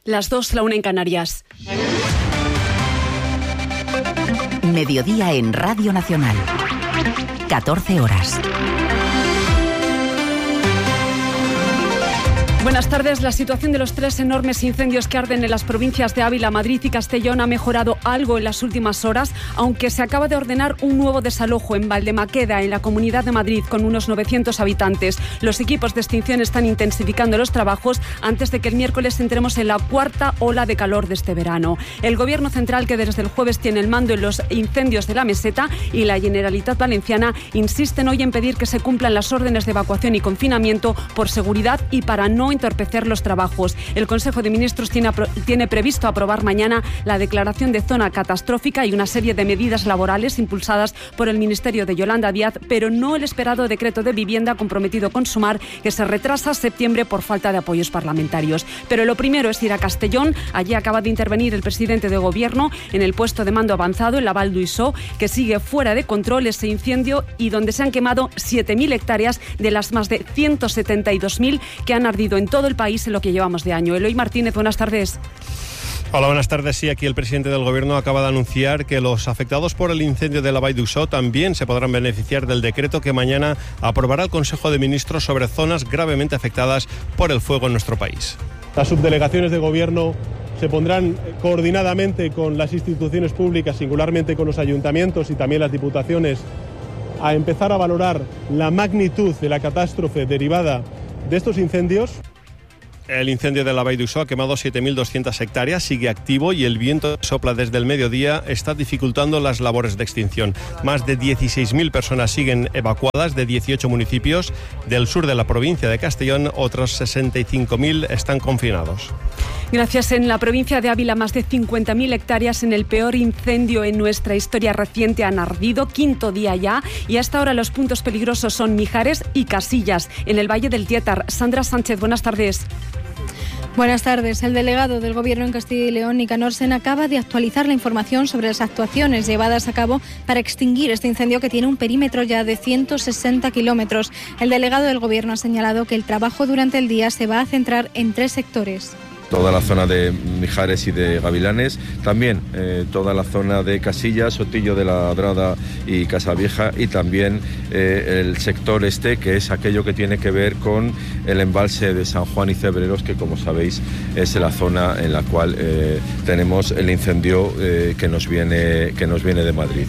Las 2, la 1 en Canarias. Mediodía en Radio Nacional. 14 horas. Buenas tardes. La situación de los 3 enormes incendios que arden en las provincias de Ávila, Madrid y Castellón ha mejorado algo en las últimas horas, aunque se acaba de ordenar un nuevo desalojo en Valdemaqueda, en la Comunidad de Madrid, con unos 900 habitantes. Los equipos de extinción están intensificando los trabajos antes de que el miércoles entremos en la cuarta ola de calor de este verano. El Gobierno central, que desde el jueves tiene el mando en los incendios de la Meseta, y la Generalitat Valenciana insisten hoy en pedir que se cumplan las órdenes de evacuación y confinamiento por seguridad y para no entorpecer los trabajos. El Consejo de Ministros tiene previsto aprobar mañana la declaración de zona catastrófica y una serie de medidas laborales impulsadas por el Ministerio de Yolanda Díaz, pero no el esperado decreto de vivienda comprometido con Sumar, que se retrasa a septiembre por falta de apoyos parlamentarios. Pero lo primero es ir a Castellón. Allí acaba de intervenir el presidente de Gobierno en el puesto de mando avanzado, en la Val d'Uixó, que sigue fuera de control ese incendio y donde se han quemado 7.000 hectáreas de las más de 172.000 que han ardido en todo el país en lo que llevamos de año. Eloy Martínez, buenas tardes. Hola, buenas tardes. Sí, aquí el presidente del Gobierno acaba de anunciar que los afectados por el incendio de la Vall d'Uixó también se podrán beneficiar del decreto que mañana aprobará el Consejo de Ministros sobre zonas gravemente afectadas por el fuego en nuestro país. Las subdelegaciones de Gobierno se pondrán coordinadamente con las instituciones públicas, singularmente con los ayuntamientos y también las diputaciones, a empezar a valorar la magnitud de la catástrofe derivada de estos incendios. El incendio de la Vall d'Uixó ha quemado 7.200 hectáreas, sigue activo y el viento que sopla desde el mediodía está dificultando las labores de extinción. Más de 16.000 personas siguen evacuadas de 18 municipios del sur de la provincia de Castellón. Otros 65.000 están confinados. Gracias. En la provincia de Ávila, más de 50.000 hectáreas en el peor incendio en nuestra historia reciente han ardido, 5º día ya, y hasta ahora los puntos peligrosos son Mijares y Casillas, en el Valle del Tietar. Sandra Sánchez, buenas tardes. Buenas tardes. El delegado del Gobierno en Castilla y León, Nicanor Sena, acaba de actualizar la información sobre las actuaciones llevadas a cabo para extinguir este incendio que tiene un perímetro ya de 160 kilómetros. El delegado del Gobierno ha señalado que el trabajo durante el día se va a centrar en 3 sectores. Toda la zona de Mijares y de Gavilanes, también toda la zona de Casillas, Sotillo de la Drada y Casavieja, y también el sector este, que es aquello que tiene que ver con el embalse de San Juan y Cebreros, que como sabéis es la zona en la cual tenemos el incendio que nos viene de Madrid.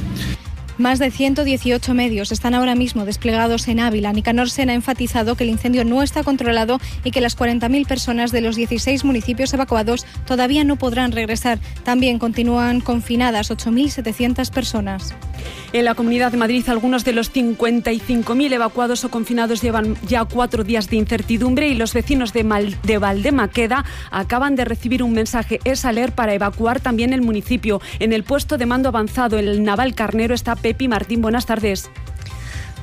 Más de 118 medios están ahora mismo desplegados en Ávila. Nicanor Sena ha enfatizado que el incendio no está controlado y que las 40.000 personas de los 16 municipios evacuados todavía no podrán regresar. También continúan confinadas 8.700 personas. En la Comunidad de Madrid, algunos de los 55.000 evacuados o confinados llevan ya 4 días de incertidumbre y los vecinos de Valdemaqueda acaban de recibir un mensaje. Es aler para evacuar también el municipio. En el puesto de mando avanzado, en el Naval Carnero, está Pepi Martín. Buenas tardes.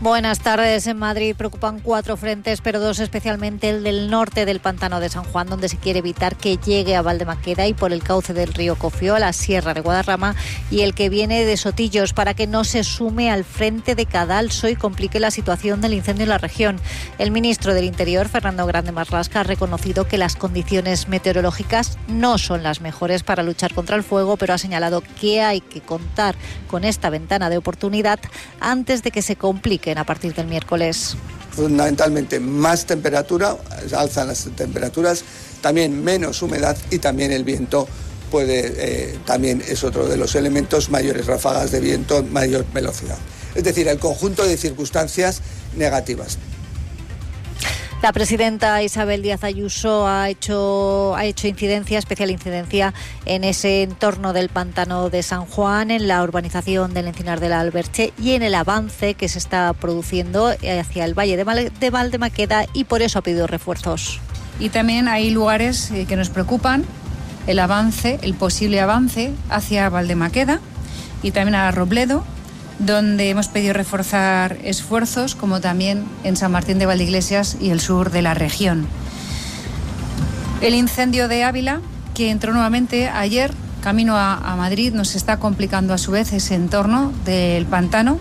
Buenas tardes. En Madrid preocupan 4 frentes, pero 2 especialmente, el del norte del pantano de San Juan, donde se quiere evitar que llegue a Valdemaqueda, y por el cauce del río Cofió a la Sierra de Guadarrama, y el que viene de Sotillos, para que no se sume al frente de Cadalso y complique la situación del incendio en la región. El ministro del Interior, Fernando Grande Marlaska, ha reconocido que las condiciones meteorológicas no son las mejores para luchar contra el fuego, pero ha señalado que hay que contar con esta ventana de oportunidad antes de que se complique a partir del miércoles. Fundamentalmente más temperatura, alzan las temperaturas, también menos humedad y también el viento también es otro de los elementos, mayores ráfagas de viento, mayor velocidad. Es decir, el conjunto de circunstancias negativas. La presidenta Isabel Díaz Ayuso ha hecho especial incidencia en ese entorno del pantano de San Juan, en la urbanización del Encinar de la Alberche y en el avance que se está produciendo hacia el Valle de Valdemaqueda, y por eso ha pedido refuerzos. Y también hay lugares que nos preocupan, el posible avance hacia Valdemaqueda y también a Robledo, donde hemos pedido reforzar esfuerzos, como también en San Martín de Valdeiglesias y el sur de la región. El incendio de Ávila, que entró nuevamente ayer camino a Madrid, nos está complicando a su vez ese entorno del pantano.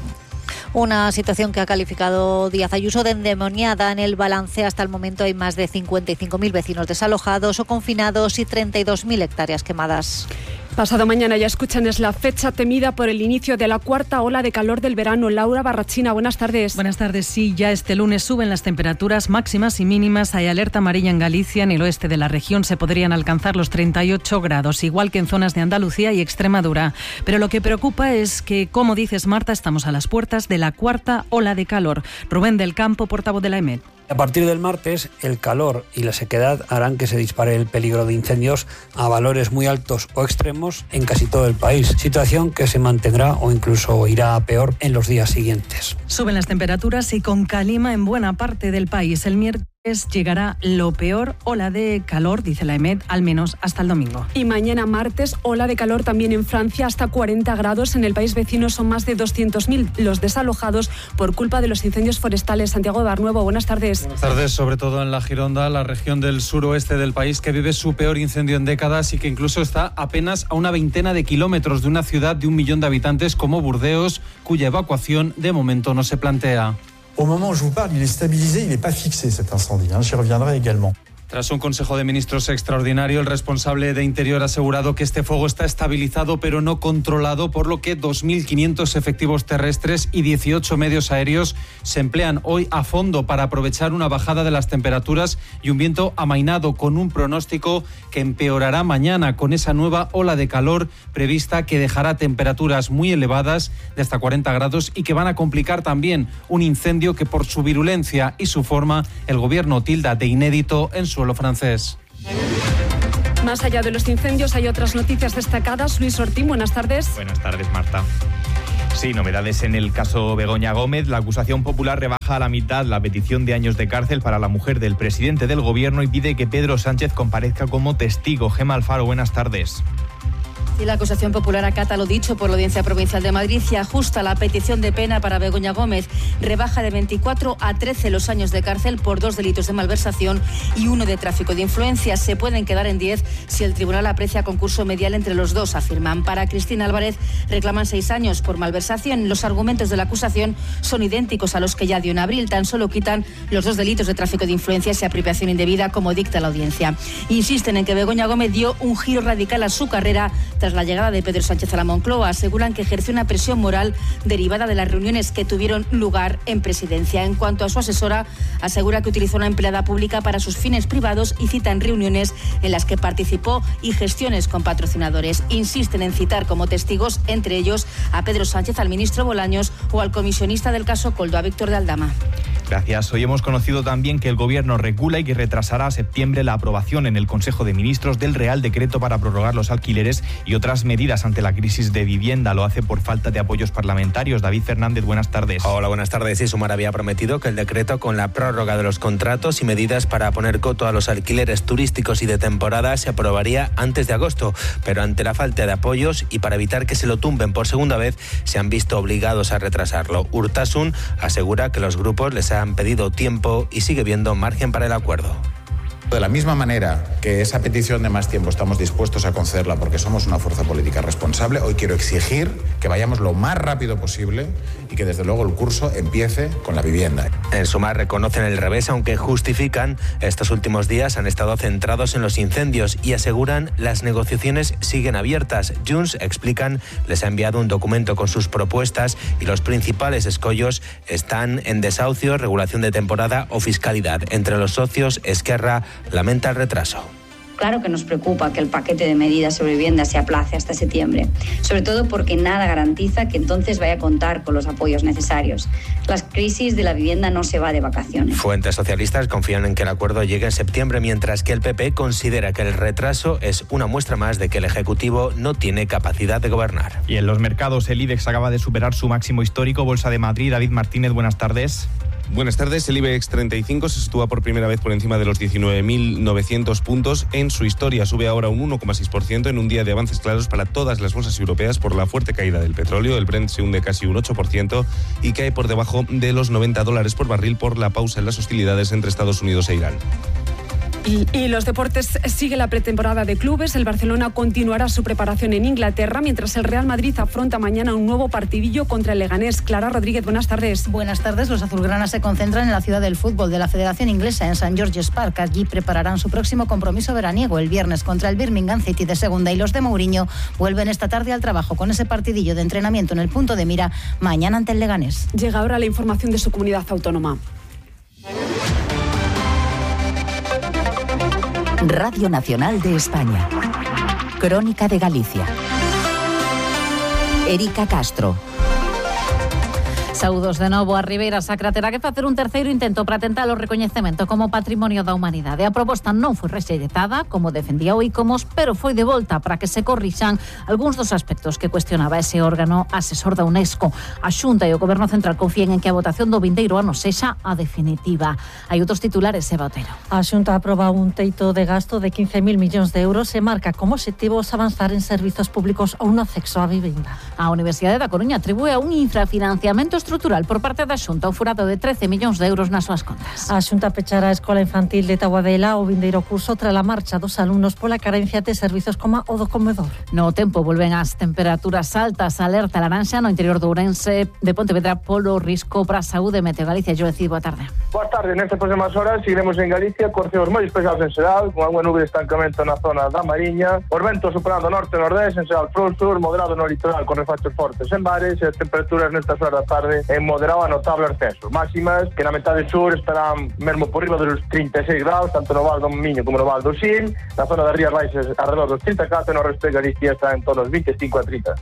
Una situación que ha calificado Díaz Ayuso de endemoniada. En el balance hasta el momento hay más de 55.000 vecinos desalojados o confinados y 32.000 hectáreas quemadas. Pasado mañana, ya escuchan, es la fecha temida por el inicio de la cuarta ola de calor del verano. Laura Barrachina, buenas tardes. Buenas tardes. Sí, ya este lunes suben las temperaturas máximas y mínimas. Hay alerta amarilla en Galicia. En el oeste de la región se podrían alcanzar los 38 grados, igual que en zonas de Andalucía y Extremadura. Pero lo que preocupa es que, como dices, Marta, estamos a las puertas de la cuarta ola de calor. Rubén del Campo, portavoz de la EMET. A partir del martes, el calor y la sequedad harán que se dispare el peligro de incendios a valores muy altos o extremos en casi todo el país, situación que se mantendrá o incluso irá a peor en los días siguientes. Suben las temperaturas y con calima en buena parte del país. El miércoles llegará lo peor, ola de calor, dice la EMET, al menos hasta el domingo. Y mañana martes, ola de calor también en Francia, hasta 40 grados. En el país vecino son más de 200.000 los desalojados por culpa de los incendios forestales. Santiago de Barnuevo, buenas tardes. Buenas tardes, sobre todo en la Gironda, la región del suroeste del país, que vive su peor incendio en décadas y que incluso está apenas a una veintena de kilómetros de una ciudad de 1 millón de habitantes como Burdeos, cuya evacuación de momento no se plantea. Au moment où je vous parle, il est stabilisé, il n'est pas fixé cet incendie. J'y reviendrai également. Tras un Consejo de Ministros extraordinario, el responsable de Interior ha asegurado que este fuego está estabilizado pero no controlado, por lo que 2.500 efectivos terrestres y 18 medios aéreos se emplean hoy a fondo para aprovechar una bajada de las temperaturas y un viento amainado, con un pronóstico que empeorará mañana con esa nueva ola de calor prevista que dejará temperaturas muy elevadas de hasta 40 grados y que van a complicar también un incendio que, por su virulencia y su forma, el gobierno tilda de inédito en suelo francés. Más allá de los incendios hay otras noticias destacadas. Luis Ortín, buenas tardes. Buenas tardes, Marta. Sí, novedades en el caso Begoña Gómez. La acusación popular rebaja a la mitad la petición de años de cárcel para la mujer del presidente del gobierno y pide que Pedro Sánchez comparezca como testigo. Gemma Alfaro, buenas tardes. Y la acusación popular acata lo dicho por la Audiencia Provincial de Madrid y ajusta la petición de pena para Begoña Gómez. Rebaja de 24 a 13 los años de cárcel por 2 delitos de malversación y 1 de tráfico de influencias. Se pueden quedar en 10 si el tribunal aprecia concurso medial entre los dos, afirman. Para Cristina Álvarez reclaman 6 años por malversación. Los argumentos de la acusación son idénticos a los que ya dio en abril. Tan solo quitan los 2 delitos de tráfico de influencias y apropiación indebida, como dicta la audiencia. Insisten en que Begoña Gómez dio un giro radical a su carrera tras la llegada de Pedro Sánchez a la Moncloa. Aseguran que ejerció una presión moral derivada de las reuniones que tuvieron lugar en presidencia. En cuanto a su asesora, asegura que utilizó una empleada pública para sus fines privados y citan reuniones en las que participó y gestiones con patrocinadores. Insisten en citar como testigos, entre ellos, a Pedro Sánchez, al ministro Bolaños o al comisionista del caso Koldo, a Víctor de Aldama. Gracias. Hoy hemos conocido también que el Gobierno recula y que retrasará a septiembre la aprobación en el Consejo de Ministros del Real Decreto para prorrogar los alquileres y otras medidas ante la crisis de vivienda. Lo hace por falta de apoyos parlamentarios. David Fernández, buenas tardes. Hola, buenas tardes. Sí, Sumar había prometido que el decreto, con la prórroga de los contratos y medidas para poner coto a los alquileres turísticos y de temporada, se aprobaría antes de agosto. Pero ante la falta de apoyos y para evitar que se lo tumben por segunda vez, se han visto obligados a retrasarlo. Urtasun asegura que los grupos les han pedido tiempo y sigue viendo margen para el acuerdo. De la misma manera que esa petición de más tiempo estamos dispuestos a concederla porque somos una fuerza política responsable, hoy quiero exigir que vayamos lo más rápido posible y que desde luego el curso empiece con la vivienda. En Sumar reconocen el revés, aunque justifican estos últimos días han estado centrados en los incendios y aseguran las negociaciones siguen abiertas. Junts, explican, les ha enviado un documento con sus propuestas y los principales escollos están en desahucio, regulación de temporada o fiscalidad. Entre los socios, Esquerra lamenta el retraso. Claro que nos preocupa que el paquete de medidas sobre vivienda se aplace hasta septiembre, sobre todo porque nada garantiza que entonces vaya a contar con los apoyos necesarios. La crisis de la vivienda no se va de vacaciones. Fuentes socialistas confían en que el acuerdo llegue en septiembre, mientras que el PP considera que el retraso es una muestra más de que el Ejecutivo no tiene capacidad de gobernar. Y en los mercados, el IBEX acaba de superar su máximo histórico. Bolsa de Madrid, David Martínez, buenas tardes. Buenas tardes. El IBEX 35 se sitúa por primera vez por encima de los 19.900 puntos en su historia. Sube ahora un 1,6% en un día de avances claros para todas las bolsas europeas por la fuerte caída del petróleo. El Brent se hunde casi un 8% y cae por debajo de los $90 por barril por la pausa en las hostilidades entre Estados Unidos e Irán. Y los deportes, sigue la pretemporada de clubes. El Barcelona continuará su preparación en Inglaterra, mientras el Real Madrid afronta mañana un nuevo partidillo contra el Leganés. Clara Rodríguez, buenas tardes. Buenas tardes. Los azulgranas se concentran en la ciudad del fútbol de la Federación Inglesa, en St. George's Park. Allí prepararán su próximo compromiso veraniego el viernes contra el Birmingham City de segunda, y los de Mourinho vuelven esta tarde al trabajo con ese partidillo de entrenamiento en el punto de mira mañana ante el Leganés. Llega ahora la información de su comunidad autónoma. Radio Nacional de España. Crónica de Galicia. Erika Castro. Saúdos de novo. A Ribeira Sacra terá que facer un terceiro intento para tentar o recoñecemento como Patrimonio da Humanidade. A proposta non foi rexeitada, como defendía o ICOMOS, pero foi de volta para que se corrixan algúns dos aspectos que cuestionaba ese órgano asesor da UNESCO. A Xunta e o Goberno Central confían en que a votación do vindeiro ano sexa a definitiva. Hai outros titulares, Eva Otero. A Xunta aproba un teito de gasto de 15.000 millóns de euros e marca como obxectivos avanzar en servizos públicos ou no acceso á vivienda. A Universidade da Coruña atribúe a un infrafinanciamento estrutural por parte da Xunta o furado de 13 millóns de euros nas súas contas. A Xunta pechará a Escola Infantil de Taboadela o vindeiro curso tras a marcha dos alumnos pola carencia de servizos como o do comedor. No tempo volven as temperaturas altas, alerta laranxa no interior do Ourense, de Pontevedra polo risco para a saúde. Meteo Galicia, yo decido, boa tarde. Boa tarde, nestas próximas horas seguiremos en Galicia con ceos moi especiales en Sedal, con algunha nube de estancamento na zona da Mariña, os ventos superando norte e nordeste en Sedal pro sur, moderado no litoral con refachos fortes en bares, e as temperaturas nestas horas da tarde en moderado a notable ascenso. Máximas que na metade sur estarán mesmo por riba dos 36 graus, tanto no Val do Miño como no Val do Sil, na zona das Rías Baixas alrededor dos 34, e no resto de Galicia está en torno aos 25 a 30.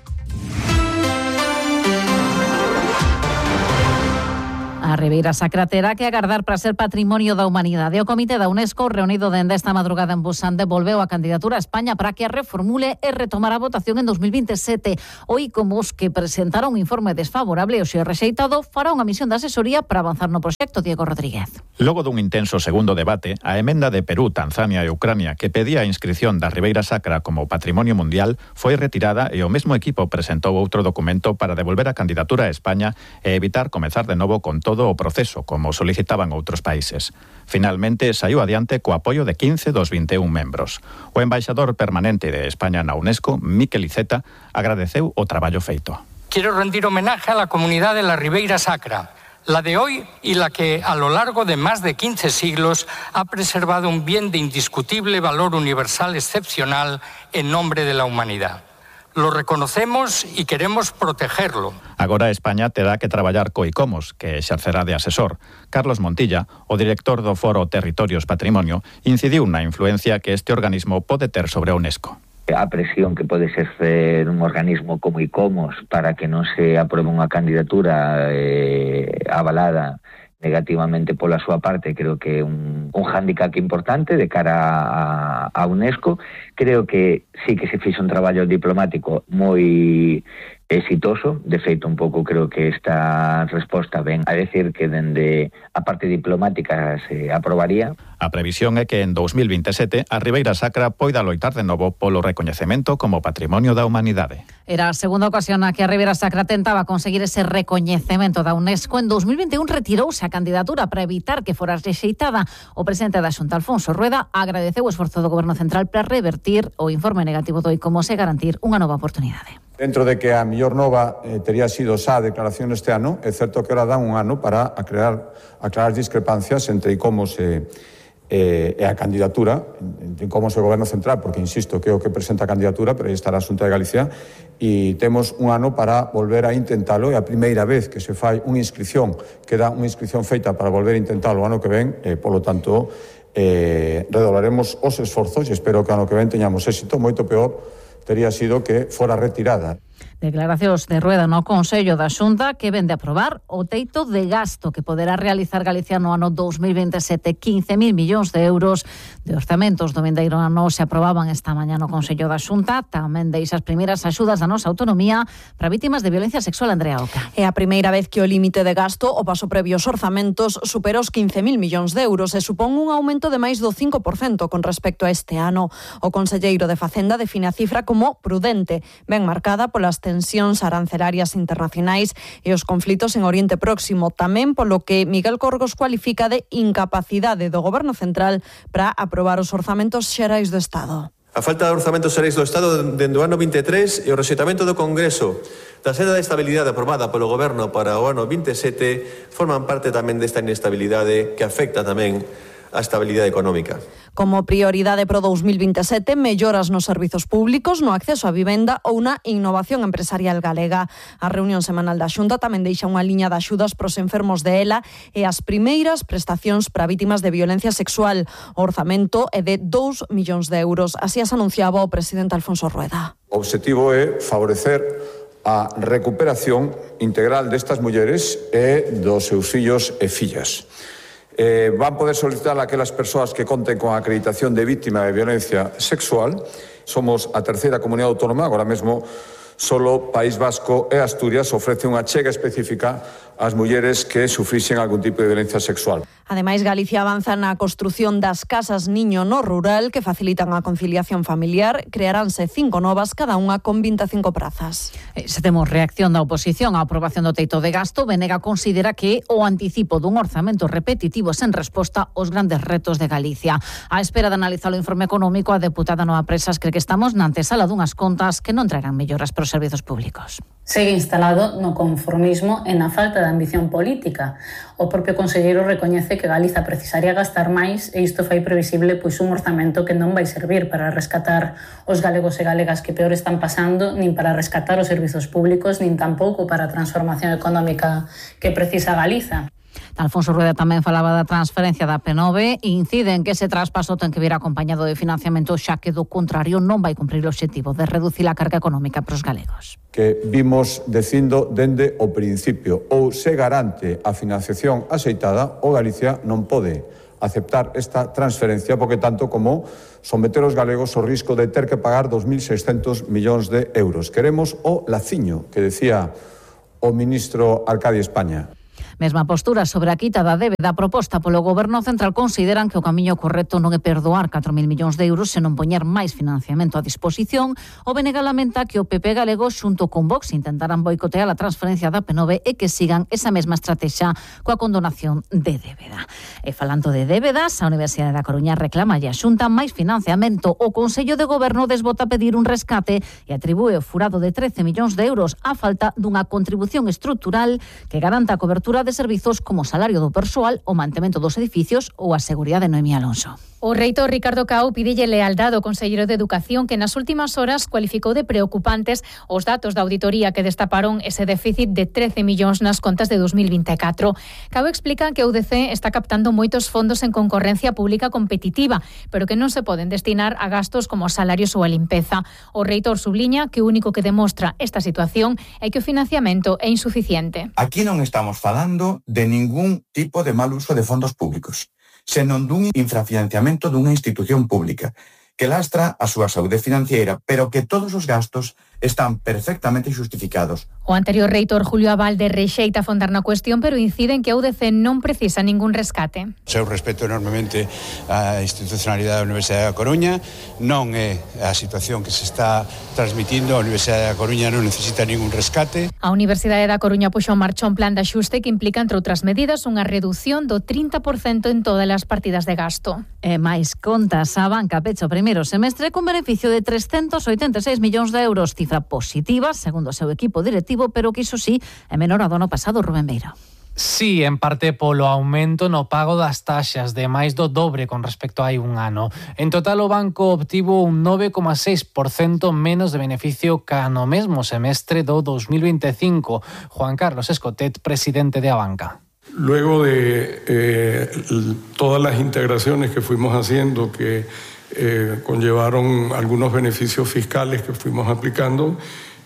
A Ribeira Sacra terá que agardar para ser Patrimonio da Humanidade. O Comité da UNESCO, reunido dende esta madrugada en Busan, devolveu a candidatura a España para que a reformule e retomar a votación en 2027. O ICOMOS, que presentara un informe desfavorable e o xe rexeitado, fará unha misión de asesoría para avanzar no proxecto. Diego Rodríguez. Logo dun intenso segundo debate, a emenda de Perú, Tanzania e Ucrania que pedía a inscrición da Ribeira Sacra como Patrimonio Mundial foi retirada, e o mesmo equipo presentou outro documento para devolver a candidatura a España e evitar comezar de novo con todo o proceso, como solicitaban outros países. Finalmente, saiu adiante co apoio de 15 dos 21 membros. O embaixador permanente de España na UNESCO, Miquel Iceta, agradeceu o traballo feito. Quiero rendir homenaje a la comunidad de la Ribeira Sacra, la de hoy y la que a lo largo de más de 15 siglos ha preservado un bien de indiscutible valor universal excepcional en nombre de la humanidad. Lo reconocemos y queremos protegerlo. Agora España terá que traballar co ICOMOS, que exercerá de asesor. Carlos Montilla, o director do Foro Territorios Patrimonio, incidiu na influencia que este organismo pode ter sobre a UNESCO. A presión que pode exercer un organismo como ICOMOS para que non se apruebe unha candidatura avalada negativamente pola súa parte, creo que é un hándicap importante de cara a UNESCO. Creo que sí que se fixo un traballo diplomático moi exitoso. De feito, un pouco creo que esta resposta ven a decir que dende a parte diplomática se aprobaría. A previsión é que en 2027 a Ribeira Sacra poida loitar de novo polo recoñecemento como Patrimonio da Humanidade. Era a segunda ocasión na que a Ribeira Sacra tentaba conseguir ese recoñecemento da UNESCO. En 2021 retirouse a candidatura para evitar que fora rexeitada. O presidente da Xunta, Alfonso Rueda, agradeceu o esforzo do Goberno Central para revertir o informe negativo do ICOMOS e garantir unha nova oportunidade. Dentro de que a mellor nova tería sido xa a declaración este ano, é certo que ahora dan un ano para aclarar discrepancias entre ICOMOS e a candidatura, entre ICOMOS e o Goberno Central, porque, insisto, que é o que presenta a candidatura, pero aí estará a Xunta de Galicia, e temos un ano para volver a intentalo. É a primeira vez que se fai unha inscripción, queda unha inscripción feita para volver a intentalo o ano que ven, polo tanto, redoblaremos os esforzos e espero que o ano que ven teñamos éxito. Moito peor tería sido que fora retirada. Declaracións de Rueda no Consello da Xunta, que ven de aprobar o teito de gasto que poderá realizar Galicia no ano 2027. 15.000 millóns de euros de orzamentos do vindeiro ano se aprobaban esta mañá no Consello da Xunta. Tamén deixas primeiras axudas da nosa autonomía para vítimas de violencia sexual. Andrea Oca. É a primeira vez que o límite de gasto o paso previo aos orzamentos supera os 15.000 millóns de euros e supón un aumento de máis do 5% con respecto a este ano. O conselleiro de Facenda define a cifra como prudente, ben marcada pola as tensións arancelarias internacionais e os conflitos en Oriente Próximo, tamén polo que Miguel Corgos cualifica de incapacidade do Goberno Central para aprobar os orzamentos xerais do Estado. A falta de orzamentos xerais do Estado dende o ano 23 e o rexeitamento do Congreso da senda de estabilidade aprobada polo Goberno para o ano 27 forman parte tamén desta inestabilidade que afecta tamén a estabilidade económica. Como prioridade pro 2027, melloras nos servizos públicos, no acceso á vivenda ou na innovación empresarial galega. A reunión semanal da Xunta tamén deixa unha liña de axudas pros enfermos de ELA e as primeiras prestacións para vítimas de violencia sexual. O orzamento é de 2 millóns de euros. Así as anunciaba o presidente Alfonso Rueda. O obxectivo é favorecer a recuperación integral destas mulleres e dos seus fillos e fillas. Van poder solicitar a aquelas persoas que conten con a acreditación de víctima de violencia sexual. Somos a terceira comunidade autónoma, agora mesmo solo País Vasco e Asturias ofrece unha chega específica ás mulleres que sufrixen algún tipo de violencia sexual. Ademais, Galicia avanza na construción das casas niño no rural que facilitan a conciliación familiar. Crearánse 5 novas, cada unha con 25 prazas. Se temos reacción da oposición á aprobación do teito de gasto, Venega considera que o anticipo dun orzamento repetitivo sen resposta aos grandes retos de Galicia. A espera de analizar o informe económico, a deputada Noa Presas cree que estamos na antesala dunhas contas que non traerán melloras para os servizos públicos. Segue instalado no conformismo e na falta de ambición política. O propio conselleiro recoñece que Galiza precisaría gastar máis e isto fai previsible un orzamento que non vai servir para rescatar os galegos e galegas que peor están pasando, nin para rescatar os servizos públicos, nin tampouco para a transformación económica que precisa Galiza. Alfonso Rueda tamén falaba da transferencia da P9 e incide en que ese traspaso ten que vir acompañado de financiamento, xa que do contrario non vai cumprir o obxectivo de reducir a carga económica para os galegos. Que vimos dicindo dende o principio, ou se garante a financiación axeitada, ou Galicia non pode aceptar esta transferencia, porque tanto como someter os galegos ao risco de ter que pagar 2.600 millóns de euros. Queremos o laciño que decía o ministro Arcadio España. Mesma postura sobre a quita da débeda proposta polo Goberno Central. Consideran que o camiño correcto non é perdoar 4.000 millóns de euros, senón poñer máis financiamento a disposición. O Venega lamenta que o PP galego xunto con Vox intentaran boicotear a transferencia da P9 e que sigan esa mesma estrategia coa condonación de débeda. E falando de débedas, a Universidade da Coruña reclama e a Xunta máis financiamento. O Consello de Goberno desbota pedir un rescate e atribúe o furado de 13 millóns de euros á falta dunha contribución estrutural que garanta a cobertura de servizos como o salario do persoal, o mantemento dos edificios ou a seguridade de Noemí Alonso. O reitor Ricardo Cao pídelle lealdade ao conselleiro de Educación, que nas últimas horas cualificou de preocupantes os datos da auditoría que destaparon ese déficit de 13 millóns nas contas de 2024. Cao explica que a UDC está captando moitos fondos en concorrencia pública competitiva, pero que non se poden destinar a gastos como os salarios ou a limpeza. O reitor subliña que o único que demostra esta situación é que o financiamento é insuficiente. Aquí non estamos falando de ningún tipo de mal uso de fondos públicos, senón dun infrafinanciamento dunha institución pública que lastra a súa saúde financiera, pero que todos os gastos están perfectamente xustificados. O anterior reitor Julio Abalde rexeita afondar na cuestión, pero incide en que a UDC non precisa ningún rescate. Eu respeto enormemente a institucionalidade da Universidade da Coruña, non é a situación que se está transmitindo, a Universidade da Coruña non necesita ningún rescate. A Universidade da Coruña puxo en marcha un plan de axuste que implica, entre outras medidas, unha reducción do 30% en todas as partidas de gasto. E máis contas, a banca pecha o primeiro semestre con beneficio de 386 millóns de euros, cifra positiva, segundo o seu equipo directivo, pero que iso sí é menor a do ano pasado. Rubén Beira. Sí, en parte polo aumento no pago das taxas, de máis do dobre con respecto a hai un ano. En total, o banco obtivo un 9,6% menos de beneficio ca no mesmo semestre do 2025. Juan Carlos Escotet, presidente de Abanca. Luego de todas las integraciones que fuimos haciendo, que conllevaron algunos beneficios fiscales que fuimos aplicando,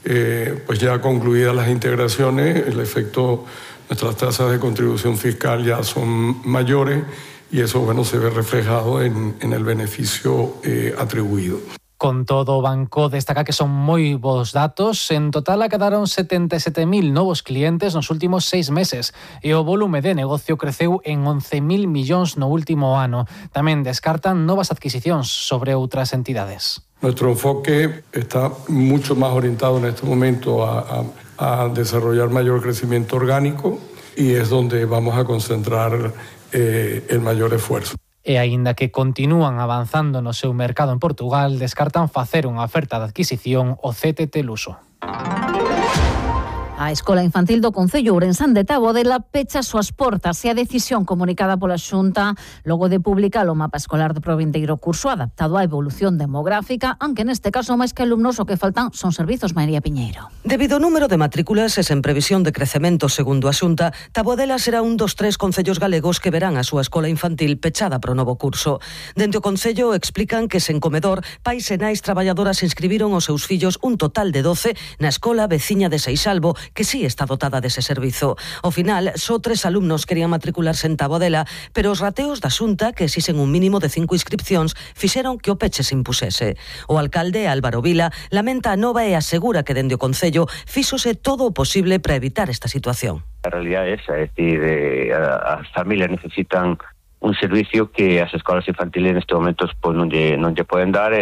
pues ya concluidas las integraciones, el efecto, nuestras tasas de contribución fiscal ya son mayores y eso, bueno, se ve reflejado en el beneficio atribuido. Con todo, o banco destaca que son moi bons datos. En total acadaron 77.000 novos clientes nos últimos 6 meses e o volume de negocio creceu en 11.000 millóns no último ano. Tamén descartan novas adquisicións sobre outras entidades. Nuestro enfoque está mucho más orientado en este momento a desarrollar mayor crecimiento orgánico y es donde vamos a concentrar el mayor esfuerzo. E aínda que continúan avanzando no seu mercado en Portugal, descartan facer unha oferta de adquisición ao CTT Luso. A Escola Infantil do Concello Ourensán de Tabodela pecha as súas portas e a decisión comunicada pola Xunta logo de publicar o mapa escolar do provindeiro curso adaptado á evolución demográfica, aunque neste caso máis que alumnos o que faltan son servizos. María Piñeiro. Debido ao número de matrículas e sen previsión de crecemento segundo a Xunta, Tabodela será un dos 3 concellos galegos que verán a súa escola infantil pechada para o novo curso. Dende o Concello explican que sen comedor, pais e nais traballadoras inscribiron os seus fillos un total de 12 na escola veciña de Seixalbo, que sí está dotada dese servizo. Ao final, só 3 alumnos querían matricularse en Tabodela, pero os rateos da Xunta, que exixen un mínimo de 5 inscripcións, fixeron que o peche se impusese. O alcalde, Álvaro Vila, lamenta a nova e asegura que dende o Concello fíxose todo o posible para evitar esta situación. A realidade é esa, é dicir, as familias necesitan un servicio que as escolas infantiles neste momento pues, non lle poden dar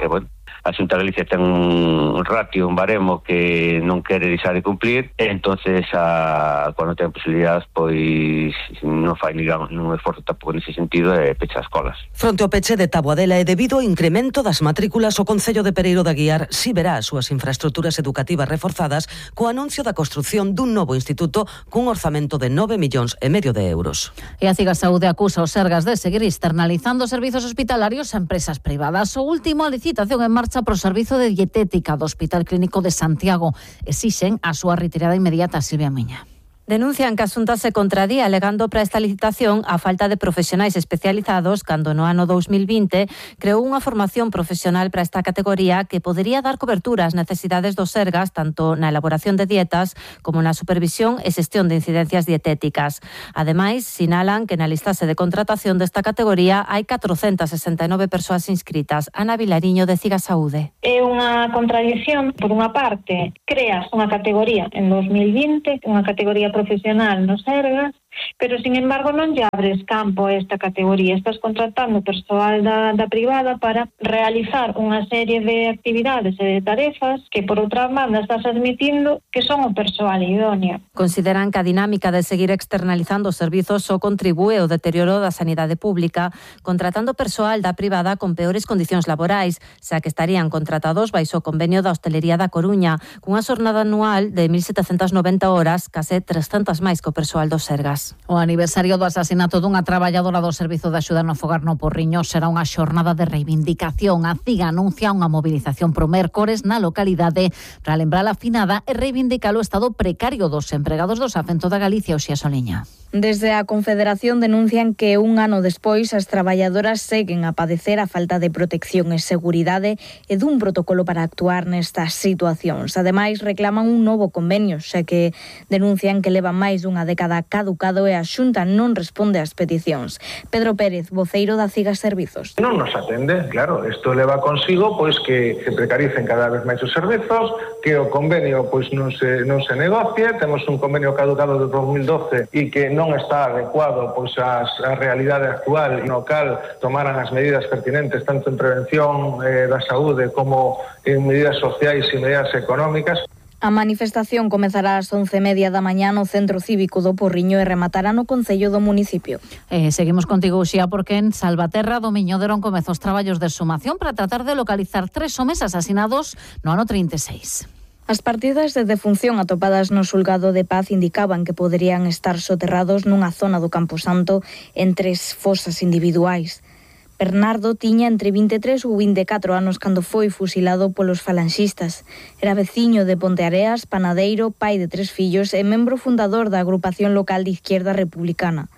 bueno, a Xunta de Galicia ten un ratio, un baremo que non quere deixar de cumplir e entonces cando ten posibilidades pois non fai nun esforzo tampouco nese sentido e pecha as escolas. Fronte ao peche de Taboadela e debido ao incremento das matrículas, o Concello de Pereiro de Aguiar si verá as súas infraestructuras educativas reforzadas co anuncio da construción dun novo instituto cun orzamento de 9,5 millóns de euros. E a Cigasaúde acusa os Sergas de seguir externalizando servizos hospitalarios a empresas privadas. O último, a licitación en marcha pro servizo de dietética do Hospital Clínico de Santiago. Exixen a súa retirada inmediata. Silvia Miña. Denuncian que a Xunta se contradía alegando para esta licitación a falta de profesionais especializados cando no ano 2020 creou unha formación profesional para esta categoría que podería dar cobertura ás necesidades dos Sergas tanto na elaboración de dietas como na supervisión e xestión de incidencias dietéticas. Ademais, sinalan que na listase de contratación desta categoría hai 469 persoas inscritas. Ana Vilariño de Cigasaúde. É unha contradición, por unha parte, creas unha categoría en 2020, unha categoría profesional nos Sergas, pero, sin embargo, non lle abres campo a esta categoría. Estás contratando persoal da privada para realizar unha serie de actividades e de tarefas que, por outra banda, estás admitindo que son o persoal idóneo. Consideran que a dinámica de seguir externalizando os servizos só contribúe ao deterioro da sanidade pública, contratando persoal da privada con peores condicións laborais, xa que estarían contratados baixo o convenio da Hostalería da Coruña, cunha xornada anual de 1.790 horas, case 300 máis que o persoal dos Sergas. O aniversario do asasinato dunha traballadora do Servizo de Axuda no Fogar no Porriño será unha xornada de reivindicación. A CIGA anuncia unha movilización pro mércores na localidade para lembrar a finada e reivindicar o estado precario dos empregados do Safento da Galicia. Oxía Soliña. Desde a Confederación denuncian que un ano despois as traballadoras seguen a padecer a falta de protección e seguridade e dun protocolo para actuar nestas situacións. Ademais, reclaman un novo convenio, xa que denuncian que levan máis dunha década caducado e a Xunta non responde ás peticións. Pedro Pérez, voceiro da CIGA Servizos. Non nos atende, claro, isto leva consigo pois que se precaricen cada vez máis os servizos, que o convenio pois non se negocie, temos un convenio caducado de 2012 e que non está adecuado pois a realidade actual, no cal tomaran as medidas pertinentes tanto en prevención da saúde como en medidas sociais e medidas económicas. A manifestación comezará ás 11:30 da mañá no Centro Cívico do Porriño e rematará no Concello do municipio. Seguimos contigo, Uxía, porque en Salvaterra do Miño deron comezo os traballos de exhumación para tratar de localizar 3 homes asasinados no ano 36. As partidas de defunción atopadas no xulgado de Paz indicaban que poderían estar soterrados nunha zona do Camposanto en 3 fosas individuais. Bernardo tiña entre 23 ou 24 anos cando foi fusilado polos falanxistas. Era veciño de Ponteareas, panadeiro, pai de 3 fillos e membro fundador da agrupación local de Izquierda Republicana.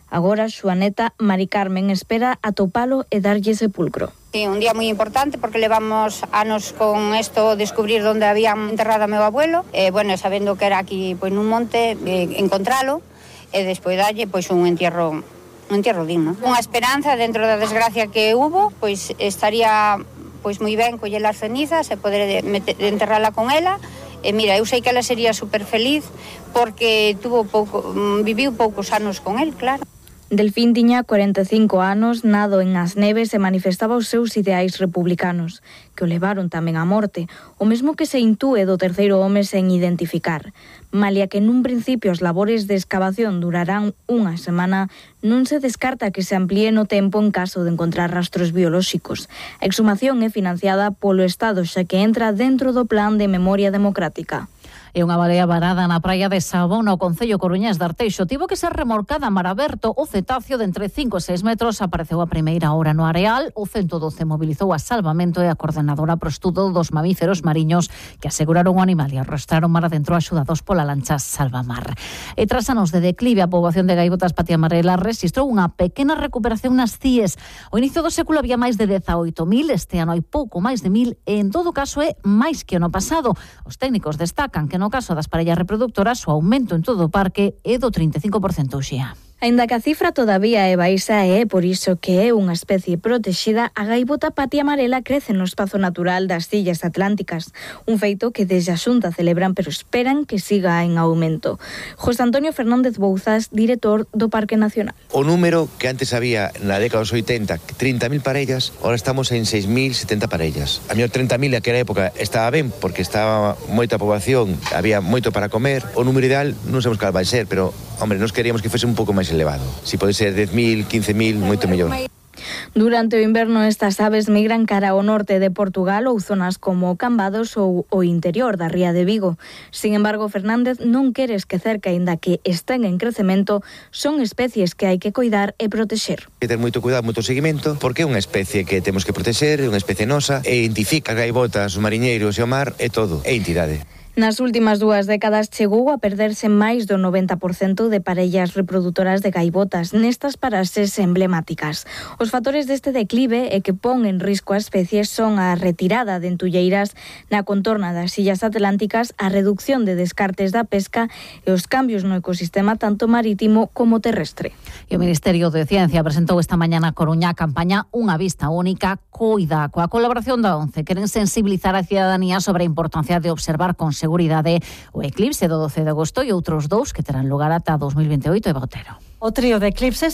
Agora, súa neta, Mari Carmen, espera atopalo e darlle sepulcro. Sí, un día moi importante porque levamos anos con esto, descubrir onde habían enterrado a meu abuelo, sabendo que era aquí pois nun monte, encontralo e despois dalle pois un entierro digno. Unha esperanza dentro da desgracia que hubo, pois estaría pois moi ben coller as cenizas e poder enterrala con ela. E mira, eu sei que ela sería super feliz porque viviu poucos anos con el, claro. Delfín tiña 45 anos, nado en As Neves e manifestaba os seus ideais republicanos, que o levaron tamén á morte, o mesmo que se intúe do terceiro home sen identificar. Malia que nun principio as labores de excavación durarán unha semana, non se descarta que se amplíe no tempo en caso de encontrar rastros biolóxicos. A exhumación é financiada polo Estado, xa que entra dentro do Plan de Memoria Democrática. E unha balea varada na praia de Sabón, no concello coruñés de Arteixo, tivo que ser remorcada a mar aberto. O cetáceo de entre 5 e 6 metros apareceu a primeira hora no areal. O 112 mobilizou a Salvamento e a coordenadora pro estudo dos mamíferos mariños, que aseguraron o animal e arrastraron mar adentro axudados pola lancha Salvamar. E tras anos de declive, a poboación de gaivotas patia amarela rexistrou unha pequena recuperación nas CIES. O inicio do século había máis de 18.000, este ano hai pouco máis de 1.000 e en todo caso é máis que o no pasado. Os técnicos destacan que no caso das parellas reproductoras o aumento en todo o parque é do 35% xa. Aínda que a cifra todavía é baixa e é por iso que é unha especie protexida, a gaivota patia amarela crece no espazo natural das Illas Atlánticas, un feito que desde a Xunta celebran pero esperan que siga en aumento. José Antonio Fernández Bouzas, director do Parque Nacional. O número que antes había na década dos 80, 30.000 parellas, ahora estamos en 6.070 parellas. A mellor 30.000 naquela época estaba ben porque estaba moita poboación, había moito para comer. O número ideal non sabemos cal vai ser, pero hombre, nós queríamos que fose un pouco máis elevado. Si pode ser 10.000, 15.000, moito mellor. Durante o inverno estas aves migran cara ao norte de Portugal ou zonas como Cambados ou o interior da ría de Vigo. Sin embargo, Fernández non quere esquecer que, aínda que estén en crecemento, son especies que hai que coidar e protexer. Hai que ter moito cuidado, moito seguimento, porque é unha especie que temos que protexer, é unha especie nosa, e identifica gaivotas, os mariñeiros e o mar, é todo, é entidade. Nas últimas 2 décadas chegou a perderse máis do 90% de parellas reproductoras de gaivotas nestas paraxes emblemáticas. Os factores deste declive e que pon en risco a especie son a retirada de entulleiras na contorna das Illas Atlánticas, a reducción de descartes da pesca e os cambios no ecosistema tanto marítimo como terrestre. E o Ministerio de Ciencia presentou esta mañá na Coruña a campaña Unha Vista Única, Coida, coa colaboración da ONCE. Queren sensibilizar a cidadanía sobre a importancia de observar con seguridade o eclipse do 12 de agosto e outros 2 que terán lugar ata 2028 e Botero. O trío de eclipses